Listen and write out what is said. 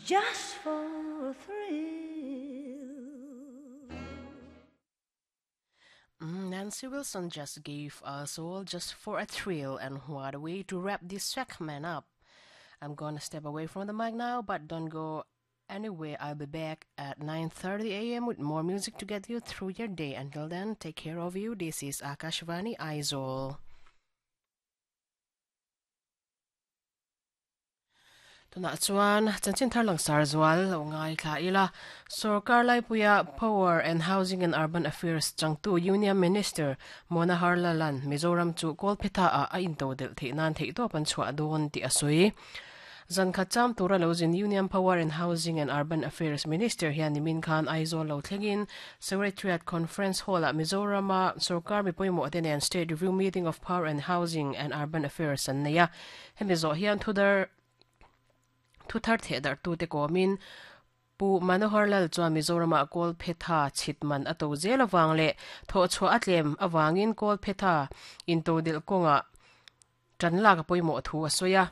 Just for a thrill. Mm, Nancy Wilson just gave us all just for a thrill, and what a way to wrap this segment up. I'm gonna step away from the mic now, but don't go anywhere. I'll be back at 9:30 a.m. with more music to get you through your day. Until then, take care of you. This is Akashvani Aizawl. Tunah chuan chanchin thar langsar zual lo ngaithla ila. Sorkar laipuia Power and Housing and Urban Affairs changtu Union Minister Manohar Lalan Mizoram chu Kawlphetha ah a intodelh theih nan theihtawp an chhuah dawn tih a sawi. Zan khat cham tura lo zin Union Power and Housing and Urban Affairs Minister hian nimin khan Aizawl lo thlengin Secretariat Conference Hall-ah Mizorama sorkar mi pawimawh te nen State Review Meeting of Power and Housing and Urban Affairs an nei a. Hemi zawh hian thudar thuthar thehdarhtute kawmin Pu Manohar Lal chuan Mizoramah Kawlphetha chhit man a to zel avang leh thawhchhuah a tlem avangin Kawlphetha intodelh kawngah tan lak a pawimawh thu a sawi a.